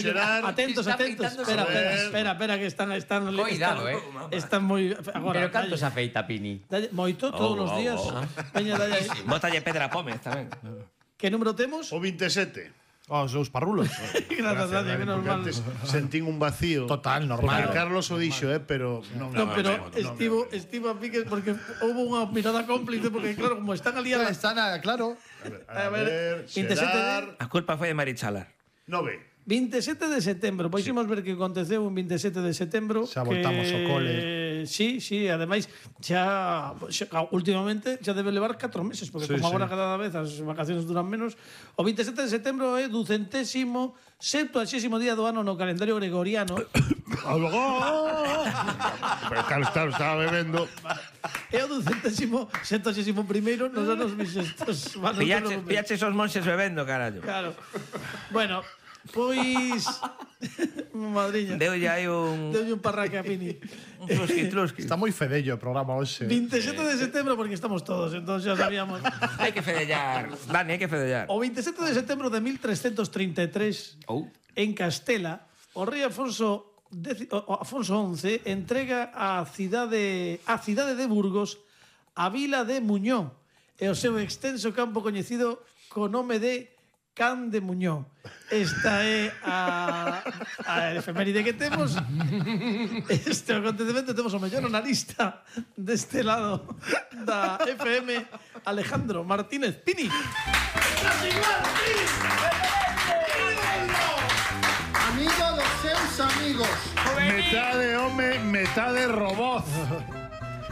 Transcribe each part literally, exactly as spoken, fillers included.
Xerar, atentos, está atentos. afeitando Espera, sobre espera, él. espera, espera, que están están Cuidado, están, eh. están moi agora. Pero canto dalle- se afeita, Pini? dalle- moito todos Oh, os oh, días. oh. Veña, dalle aí. Bótalle Pedra Pómez tamén. Que número temos? O veintisiete. Oh, os dous parrulos. Grazas, dalle, menos Porque mal. antes sentín un vacío. Total, Porque normal. Carlos o dixo, eh, pero non. No, pero non, non, estivo, non. estivo a piques porque hubo unha mirada cómplice porque claro, como están ali a la... Está nada, claro. A ver, veintisiete Xerar. A culpa foi de Marichalar. Nove. veintisiete de setembro, pois imos ver que aconteceu un veintisiete de setembro. Xa voltamos que... ao cole. Sí, sí, ademais xa, xa últimamente xa debe levar catro meses, porque Sí, como sí. agora cada vez as vacaciones duran menos. O veintisiete de setembro é ducentésimo septuagésimo día do ano no calendario gregoriano. Pero Carlos, claro, estaba bebendo. É o ducentésimo septuagésimo primeiro nos anos bisestos. Pillache, pillache esos monxes bebendo, carallo. Claro. Bueno, pois madriña. Deulle aí un... Deulle un parraque a Pini. Un trusqui, trusqui. Está moi fedello o programa hoxe. veintisiete de setembro porque estamos todos, entonces xa sabíamos. Hai que fedellar. Dani, hai que fedellar. O veintisiete de setembro de mil trescentos treinta e tres, Oh. en Castela, o rei Afonso X, o Afonso once entrega a cidade a cidade de Burgos a vila de Muñó e o seu extenso campo coñecido co nome de Can de Muñó. Esta é a, a efeméride que temos. Este acontecemento temos o mellor analista deste lado da F M, Alejandro Martínez Pini. Amigo dos seus amigos. Metade home, metade robot.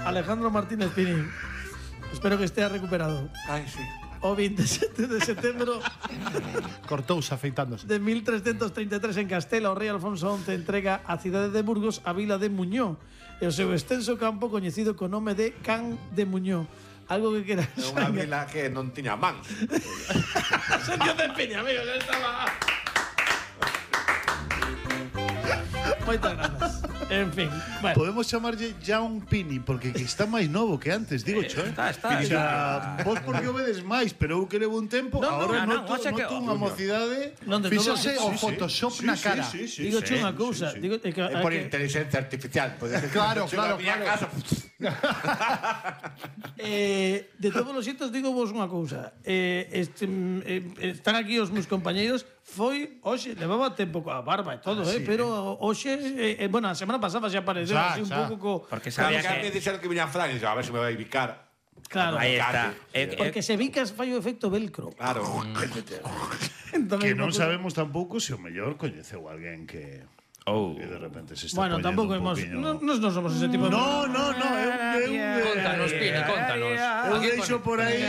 Alejandro Martínez Pini. Espero que estea recuperado. Ai, sí. O veintisiete de setembro Cortouse afeitándose. de mil trescentos treinta e tres en Castela, o rei Alfonso once entrega a cidade de Burgos a vila de Muñó e o seu extenso campo coñecido co nome de Can de Muñó. Algo que queras. É unha vila que non tiña mans. Sergio de Peña, amigo, ya estaba. Moitas grazas. En fin, bueno. Podemos chamarlle ya un Pini, porque que está máis novo que antes, digo cho, eh? Está, está. O sea, vos porque o vedes máis, pero eu que levo un tempo, No, no, agora no, no, noto, oxe que- noto unha mocidade. Non, de todo. Fíxose o Photoshop na cara. Sí, sí, Digo sí, che unha sí, cousa, sí. digo é que, É por que inteligencia artificial. Claro, claro, Miña claro. casa. eh, de todos os xeitos digo vos unha cousa. Eh, este, eh, están aquí os meus compañeiros. Foi hoxe, levaba tempo coa barba e todo, eh, pero hoxe eh, eh, bueno, a semana pasada xa apareceu Xa, así un xa. pouco co Porque Sabía sabía que me que... dixeron que viña Fran e dixo, a ver se me vai bicar. claro. Aí está. Eh, eh, Porque se vicas fai o efecto velcro. Claro. Entón, Que aí non pouco- sabemos tampouco se o mellor coñeceu alguén que Oh. que de repente se está Bueno, poñendo tampouco un hemos poquinho- no, nos non somos ese tipo de No, no, no, eu, eu, Contanos, Pini, contanos. eu deixo por aí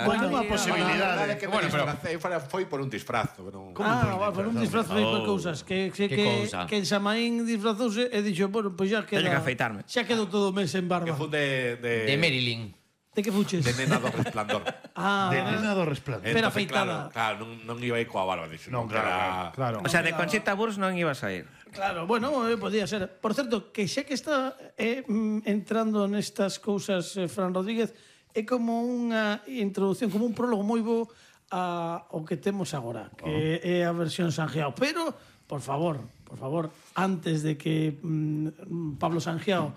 Bueno, unha posibilidade. Que Bueno, bueno, pero- pero foi por un disfraz. Non... Ah, va, por un disfraz de Oh. cousas que que Que que, cousa? que en Samaín disfrazouse e dixo, bueno, pois pues xa queda. Teño que afeitarme. Xa quedou todo o mes en Que barba. fun de... De, De Marilyn. De que fuches? de nena do resplandor. Ah, De nena do resplandor. Pero Entonces, afeitada. Claro, claro non, non iba aí coa barba. Dixo, Non, non, claro, era... Claro. O sea, de Conchita Wurst non ibas a ir. claro, bueno, eh, podía ser. Por certo, que xa que está eh, mm, entrando nestas cousas eh, Fran Rodríguez, é como unha introducción, como un prólogo moi bo a o que temos agora, que é a versión Sanjeao. Pero, por favor, por favor, antes de que mm, Pablo Sanjeao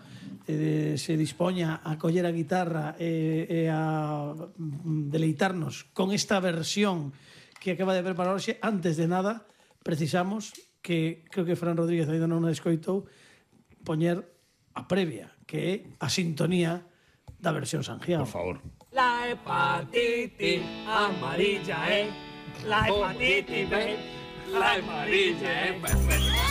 eh, se dispoña a coller a guitarra e, e a mm, deleitarnos con esta versión que acaba de preparar hoxe, antes de nada, precisamos que creo que Fran Rodríguez ainda non a escoitou poñer a previa, que é a sintonía da versión Sanjeao. Por favor. La hepatitis amarilla, eh. La hepatitis, eh. La amarilla, eh.